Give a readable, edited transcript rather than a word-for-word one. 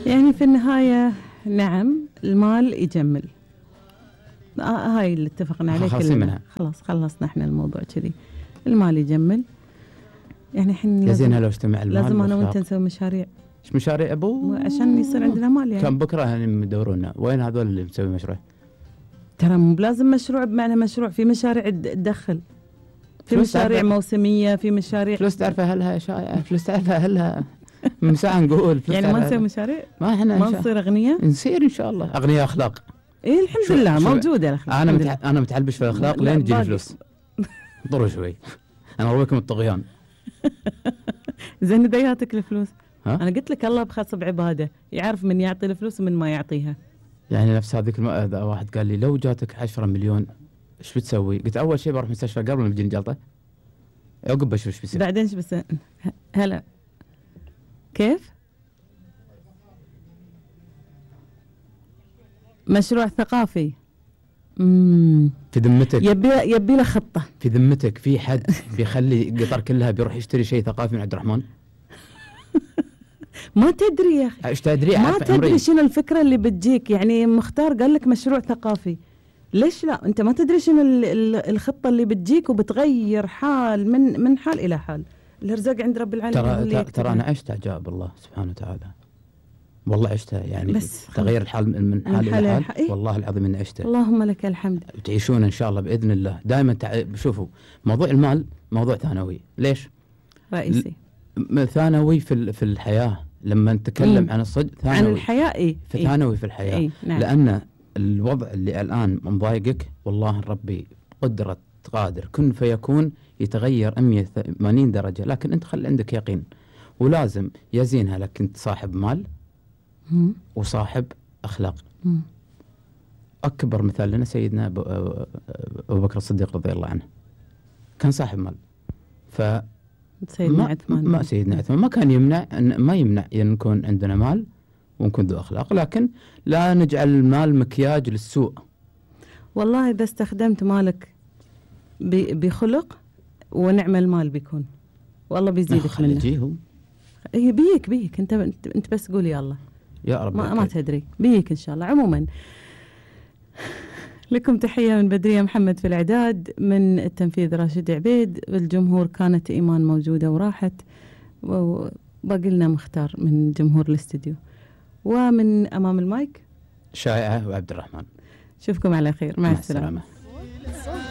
يعني في النهاية نعم المال يجمل، هاي اللي اتفقنا عليه كلنا. خلاص خلصنا احنا الموضوع كذي، المال يجمل. يعني احنا لازم لو اجتمع المال لازم انا وانت نسوي مشاريع. ايش مشاريع ابو؟ عشان يصير عندنا مال يعني. كان بكره يدورونا وين هذول اللي مسوي مشروع؟ ترى مو بلازم مشروع بمعنى مشروع، في مشاريع تدخل، في مشاريع موسمية، في مشاريع فلوس تعرفها هلها شائعة، فلوس تعرفها هلها من ساعة نقول يعني ما نسوي مشاريع، ما احنا ما نصير أغنياء، نصير إن شاء الله أغنياء أخلاق. إيه الحمد لله موجودة الأخلاق. أنا متعلبش في الأخلاق لين تجيني فلوس. ضروا شوي أنا أرويكم الطغيان. زين دياتك الفلوس. أنا قلت لك الله بخاص بعبادة، يعرف من يعطي الفلوس ومن ما يعطيها. يعني نفس هذيك واحد قال لي لو جاتك 10 مليون ايش بتسوي؟ قلت أول شيء بروح مستشفى قلب لما تجيني جلطة، عقب بشوف ايش بيصير. بعدين ايش بس هلا كيف؟ مشروع ثقافي. في ذمتك يبي له خطة. في ذمتك في حد بيخلي قطر كلها بيروح يشتري شيء ثقافي من عبد الرحمن؟ ما تدري يا أخي، ايش تدري؟ ما تدري شنو الفكرة اللي بتجيك. يعني مختار قال لك مشروع ثقافي، ليش لا؟ انت ما تدري شنو الخطة اللي بتجيك وبتغير حال من حال الى حال. الارزاق عند رب العالمين. ترى انا عشت عجائب الله سبحانه وتعالى، والله عشتها يعني تغير الحال من حال الى حال. إيه؟ والله العظيم اني عشته. اللهم لك الحمد. تعيشون ان شاء الله باذن الله دائما. شوفوا موضوع المال موضوع ثانوي. ليش رئيسي؟ ثانوي في الحياه. لما نتكلم عن الصدق ثانوي عن الحياه. ايه ثانوي في الحياه. إيه؟ نعم. لان الوضع اللي الان مضايقك والله ربي قدرة قادر كن فيكون يتغير 180 درجة، لكن انت خلي عندك يقين. ولازم يزينها لك انت صاحب مال وصاحب أخلاق. أكبر مثال لنا سيدنا أبو بكر الصديق رضي الله عنه، كان صاحب مال. سيدنا عثمان سيدنا عثمان ما كان يمنع أن يكون عندنا مال ونكون ذو أخلاق، لكن لا نجعل المال مكياج للسوء. والله إذا استخدمت مالك بخلق ونعم المال بيكون، والله بيزيدك منه. هي بيك انت بس قول يا الله يا رب. ما تدري بيك ان شاء الله. عموما لكم تحية من بدرية محمد في الإعداد، من التنفيذ راشد عبيد، والجمهور كانت إيمان موجودة وراحت، وباقي لنا مختار من جمهور الاستديو، ومن أمام المايك شائعة وعبد الرحمن. شوفكم على خير، مع السلامة.